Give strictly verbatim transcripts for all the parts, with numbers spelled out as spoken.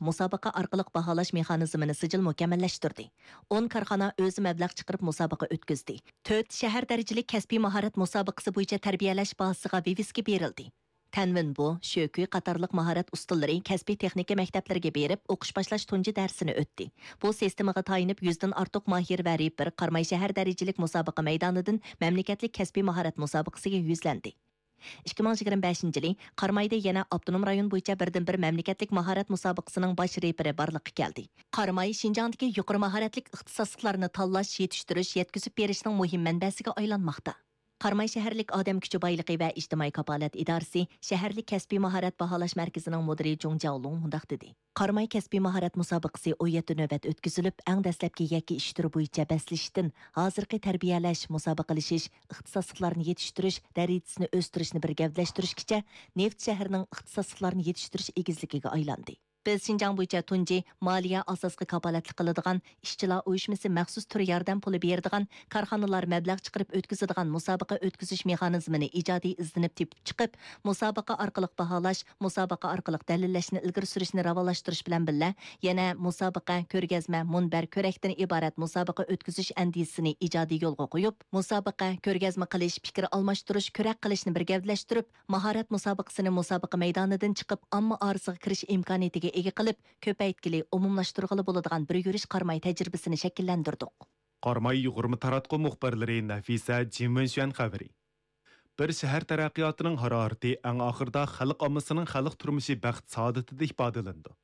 مۇسابىقە ئارقىلىق باھالاش مېخانىزمىنى سىجىل مۇكەممەللەشتۈردى. ئون كارخانا ئۆزى مەبلەغ چىقىرىپ مۇسابىقە ئۆتكۈزدى. تۆت شەھەر دەرىجىلىك كەسپىي ماھارەت مۇسابىقىسى بويىچە تەربىيەلەش بازىسىغا ۋىۋىسكا بېرىلدى. تەنۋىن بو، شۆكۈي قاتارلىق ماھارەت ئۇستىلىرى كەسپىي تېخنىكا مەكتەپلىرىگە بېرىپ، ئوقۇش باشلاش تۇنجى دەرسىنى ئۆتتى. بۇ سىستېمىغا تايىنىپ، يۈزدىن ئارتۇق ماھىر ۋە رېپېر قاراماي شەھەر دەرىجىلىك مۇسابىقە مەيدانىدىن مەملىكەتلىك كەسپىي ماھارەت مۇسابىقىسىگە يۈزلەندى. ئىككى مىڭ يىگىرمە بەشىنچى يىلى قارامايدا يەنە ئاپتونوم رايون بويىچە بىردىنبىر مەملىكەتلىك ماھارەت مۇسابىقىسىنىڭ باش رېپېرى بارلىققا كەلدى. قاراماي شىنجاڭدىكى يۇقىرى ماھارەتلىك ئىختىساسلىقلارنى تاللاش، يېتىشتۈرۈش، يەتكۈزۈپ بېرىشنىڭ مۇھىم مەنبەسىگە ئايلانماقتا. قاراماي شەھەرلىك ئادەم كۈچى بايلىقى ۋە ئىجتىمائىي كاپالەت ئىدارىسى شەھەرلىك كەسپىي ماھارەت باھالاش مەركىزىنىڭ مۇدىرى جۇڭ جياۋلۇڭ مۇنداق دېدى: قاراماي كەسپىي ماھارەت مۇسابىقىسى ئون يەتتە نۆۋەت ئۆتكۈزۈلۈپ، ئەڭ دەسلەپكى يەككە ئىش تۈرى بويىچە بەسلىشىشتىن ھازىرقى تەربىيەلەش، مۇسابىقىلىشىش، ئىختىساسلىقلارنى يېتىشتۈرۈش، دەرىجىسىنى ئۆستۈرۈشنى بىر گەۋدىلەشتۈرۈشكىچە نېفىت شەھىرىنىڭ ئىختىساسلىقلارنى يېتىشتۈرۈش ئېگىزلىكىگە ئايلاندى. بىز شىنجاڭ بويىچە تۇنجى مالىيە ئاساسقا كاپالەتلىك قىلىدىغان، ئىشچىلار ئۇيۇشمىسى مەخسۇس تۈر ياردەم پۇلى بېرىدىغان، كارخانىلار مەبلەغ چىقىرىپ ئۆتكۈزىدىغان مۇسابىقە ئۆتكۈزۈش مېخانىزمىنى ئىجادىي ئىزدىنىپ تېپىپ چىقىپ، مۇسابىقە ئارقىلىق باھالاش، مۇسابىقە ئارقىلىق دەلىللەشنى ئىلگىرى سۈرۈشنى راۋانلاشتۇرۇش بىلەن بىللە، يەنە مۇسابىقە، كۆرگەزمە، مۇنبەر، كۆرەكتىن ئىبارەت مۇسابىقە ئۆتكۈزۈش ئەندىزىسىنى ئىجادىي يولغا قويۇپ، مۇسابىقە، كۆرگەزمە قىلىش، پىكىر ئالماشتۇرۇش، كۆرەك قىلىشنى بىر گەۋدىلەشتۈرۈپ، ماھارەت مۇسابىقىسىنى مۇسابىقە مەيدانىدىن چىقىپ، ئامما ئارىسىغا كىرىش ئىمكانىيىتىگە ئىگە قىلىپ، كۆپەيتكىلى، ئومۇملاشتۇرغىلى بولىدىغان بىر يۈرۈش قاراماي تەجرىبىسىنى شەكىللەندۈردۇق. قاراماي يۇغۇرما تاراتقۇ مۇخبىرلىرى نەفىسە، جىن ۋېنشۈەن خەۋىرى. بىر شەھەر تەرەققىياتىنىڭ ھارارىتى ئەڭ ئاخىرىدا خەلق ئاممىسىنىڭ خەلق تۇرمۇشى بەخت سائادىتىدە ئىپادىلىنىدۇ.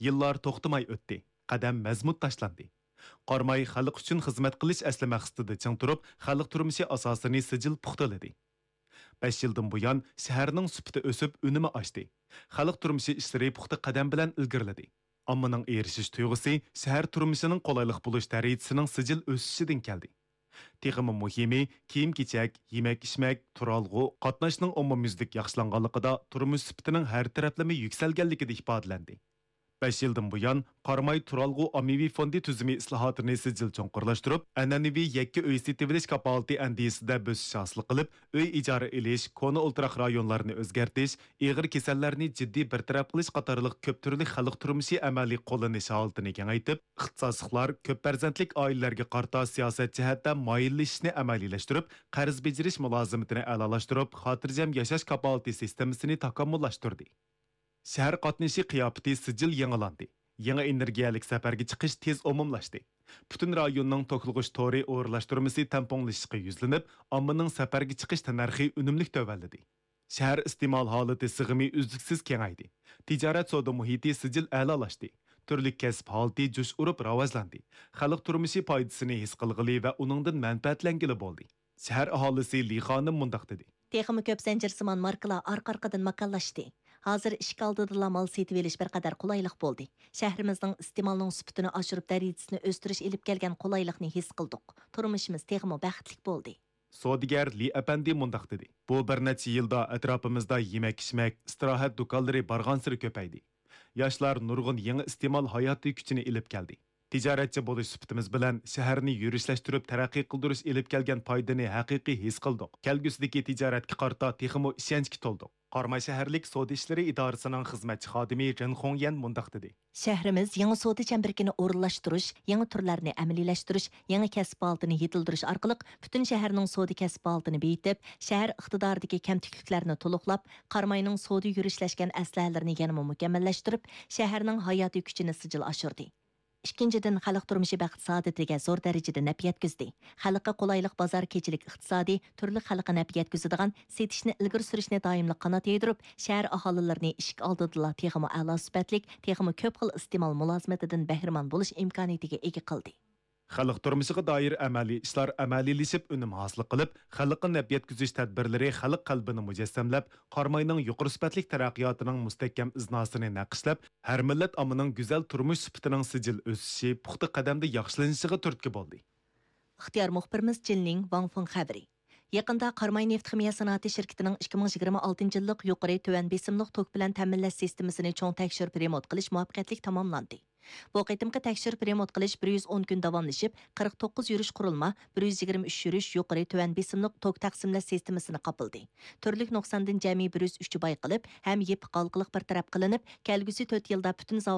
يىللار توختىماي ئۆتتى، قەدەم مەزمۇت تاشلاندى. قاراماي خەلق ئۈچۈن خىزمەت قىلىش ئەسلى مەقسىتىدە چىڭ تۇرۇپ، خەلق تۇرمۇشى ئاساسىنى سىجىل پۇختىلىدى. بەش يىلدىن بۇيان، شەھەرنىڭ سۈپىتى ئۆسۈپ، ئۈنۈمى ئاشتى. خەلق تۇرمۇشى ئىشلىرى پۇختا قەدەم بىلەن ئىلگىرىلىدى. ئاممىنىڭ ئېرىشىش تۇيغۇسى شەھەر تۇرمۇشىنىڭ قولايلىق بولۇش دەرىجىسىنىڭ سىجىل ئۆسۈشىدىن كەلدى. تېخىمۇ مۇھىمى، كىيىم-كېچەك، يېمەك-ئىچمەك، تۇرالغۇ، قاتناشنىڭ ئومۇميۈزلۈك ياخشىلانغانلىقىدا تۇرمۇش سۈپىتىنىڭ ھەر تەرەپلىمە يۈكسەلگەنلىكىدە ئىپادىلەندى. بەش يىلدىن بۇيان، قاراماي تۇرالغۇ ئاممىۋى فوندى تۈزۈمى ئىسلاھاتىنى سىجىل چوڭقۇرلاشتۇرۇپ، ئەنئەنىۋى يەككە ئۆي سېتىۋېلىش كاپالىتى ئەندىزىسىدە بۆسۈش ھاسىل قىلىپ، ئۆي ئىجارە ئېلىش، كونا ئولتۇراق رايونلارنى ئۆزگەرتىش، ئېغىر كېسەللەرنى جىددىي بىر تەرەپ قىلىش قاتارلىق كۆپ تۈرلۈك خەلق تۇرمۇشى ئەمەلىي قوللىنىش ھالىتىنى كېڭەيتىپ، ئىختىساسلىقلار كۆپ پەرزەنتلىك ئائىلىلەرگە قارىتا سىياسەت جەھەتتە مايىللىشىشنى ئەمەلىيلەشتۈرۈپ، قەرز بېجىرىش مۇلازىمىتىنى ئەلالاشتۇرۇپ، خاتىرجەم ياشاش كاپالىتى سىستېمىسىنى تاكامۇللاشتۇردى. شەھەر قاتنىشى قىياپىتى سىجىل يېڭىلاندى. يېڭى ئېنېرگىيەلىك سەپەرگە چىقىش تېز ئومۇملاشتى. پۈتۈن رايوننىڭ توكلىغۇچ تورى ئورۇنلاشتۇرمىسى تەڭپۇڭلىشىشقا يۈزلىنىپ، ئاممىنىڭ سەپەرگە چىقىش تەننەرخى ئۈنۈملۈك تۆۋەنلىدى. شەھەر ئىستېمال ھالىتى سىغىمى ئۈزلۈكسىز كېڭەيدى. تىجارەت سودا مۇھىتى سىجىل ئەلالاشتى. تۈرلۈك كەسىپ ھالىتى جۇش ئۇرۇپ راۋاجلاندى. خەلق تۇرمۇشى پايدىسىنى ھېس قىلغىلى ۋە ئۇنىڭدىن مەنپەئەتلەنگىلى بولدى. شەھەر ئاھالىسى لى خانىم مۇنداق دېدى. تېخىمۇ كۆپ زەنجىرسىمان ماركىلار ئارقا-ئارقىدىن ماكانلاشتى. ھازىر ئىشىك ئالدىدىلا مال سېتىۋېلىش بىر قەدەر قولايلىق بولدى. شەھىرىمىزنىڭ ئىستېمالنىڭ سۈپىتىنى ئاشۇرۇپ، دەرىجىسىنى ئۆستۈرۈش ئېلىپ كەلگەن قولايلىقنى ھېس قىلدۇق. تۇرمۇشىمىز تېخىمۇ بەختلىك بولدى. سودىگەر لى ئەپەندى مۇنداق دېدى. بۇ بىر نەچچە يىلدا ئەتراپىمىزدا يېمەك-ئىچمەك، ئىستىراھەت دۇكانلىرى بارغانسېرى كۆپەيدى. ياشلار نۇرغۇن يېڭى ئىستېمال ھاياتىي كۈچىنى ئېلىپ كەلدى. تىجارەتچى بولۇش سۈپىتىمىز بىلەن شەھەرنى يۈرۈشلەشتۈرۈپ تەرەققىي قىلدۇرۇش ئېلىپ كەلگەن پايدىنى ھەقىقىي ھېس قىلدۇق. كەلگۈسىدىكى تىجارەتكە قارىتا تېخىمۇ ئىشەنچكە تولدۇق. قاراماي شەھەرلىك سودا ئىشلىرى ئىدارىسىنىڭ خىزمەتچى خادىمى رېن خۇڭيەن مۇنداق دېدى. شەھىرىمىز يېڭى سودا چەمبىرىكىنى ئورۇنلاشتۇرۇش، يېڭى تۈرلەرنى ئەمەلىيلەشتۈرۈش، يېڭى كەسىپ ھالىتىنى يېتىلدۈرۈش ئارقىلىق پۈتۈن شەھەرنىڭ سودا كەسىپ ھالىتىنى بېيىتىپ، شەھەر ئىقتىدارىدىكى كەمتۈكلۈكلەرنى تولۇقلاپ، قاراماينىڭ سودا يۈرۈشلەشكەن ئەسلىھەلىرىنى يەنىمۇ مۇكەممەللەشتۈرۈپ، شەھەرنىڭ ھاياتىي كۈچىنى سىجىل ئاشۇردى. ئىككىنچىدىن، خەلق تۇرمۇشى بەخت سائادىتىگە زور دەرىجىدە نەپ يەتكۈزدى. خەلققە قولايلىق بازار كېچىلىك ئىقتىسادى، تۈرلۈك خەلققە نەپ يەتكۈزىدىغان، سېتىشنى ئىلگىرى سۈرۈشنى دائىملىق قانات يايدۇرۇپ، شەھەر ئاھالىلىرىنى ئىشىك ئالدىدىلا تېخىمۇ ئەلا سۈپەتلىك، تېخىمۇ كۆپ خىل ئىستېمال مۇلازىمىتىدىن بەھرىمەن بولۇش ئىمكانىيىتىگە ئىگە قىلدى. خەلق تۇرمۇشىغا دائىر ئەمەلىي ئىشلار ئەمەلىيلىشىپ، ئۈنۈم ھاسىل قىلىپ، خەلققە نەپ يەتكۈزۈش تەدبىرلىرى خەلق قەلبىنى مۇجەسسەملەپ، قاراماينىڭ يۇقىرى سۈپەتلىك تەرەققىياتىنىڭ مۇستەھكەم ئىزناسىنى نەقىشلەپ، ھەر مىللەت ئاممىنىڭ گۈزەل تۇرمۇش سۈپىتىنىڭ سىجىل ئۆسۈشى، پۇختا قەدەمدە ياخشىلىنىشىغا تۈرتكە بولدى. ئىختىيار مۇخبىرىمىز جىن لىڭ ۋاڭ فېڭ خەۋىرى. يېقىندا قاراماي نېفىت خىمىيە سانائىتى شىركىتىنىڭ ئىككى مىڭ يىگىرمە ئالتىنچى يىللىق يۇقىرى تۆۋەن بېسىملىق توك بىلەن تەمىنلەش سىستېمىسىنى چوڭ تەكشۈرۈپ رېمونت قىلىش مۇۋەپپەقىيەتلىك تاماملاندى. بۇ قېتىمقى تەكشۈرۈپ رېمونت قىلىش بىر يۈز ئون كۈن داۋاملىشىپ، قىرىق توققۇز يۈرۈش قۇرۇلما، بىر يۈز يىگىرمە ئۈچ يۈرۈش يۇقىرى تۆۋەن بېسىملىق توك تەقسىملەش سىستېمىسىنى قاپلىدى. تۈرلۈك نۇقساندىن جەمئىي بىر يۈز ئۈچ بايقىلىپ، ھەم يېپىق ھالقىلىق بىر تەرەپ قىلىنىپ، كەلگۈسى تۆت يىلدا پۈتۈن زاۋۇت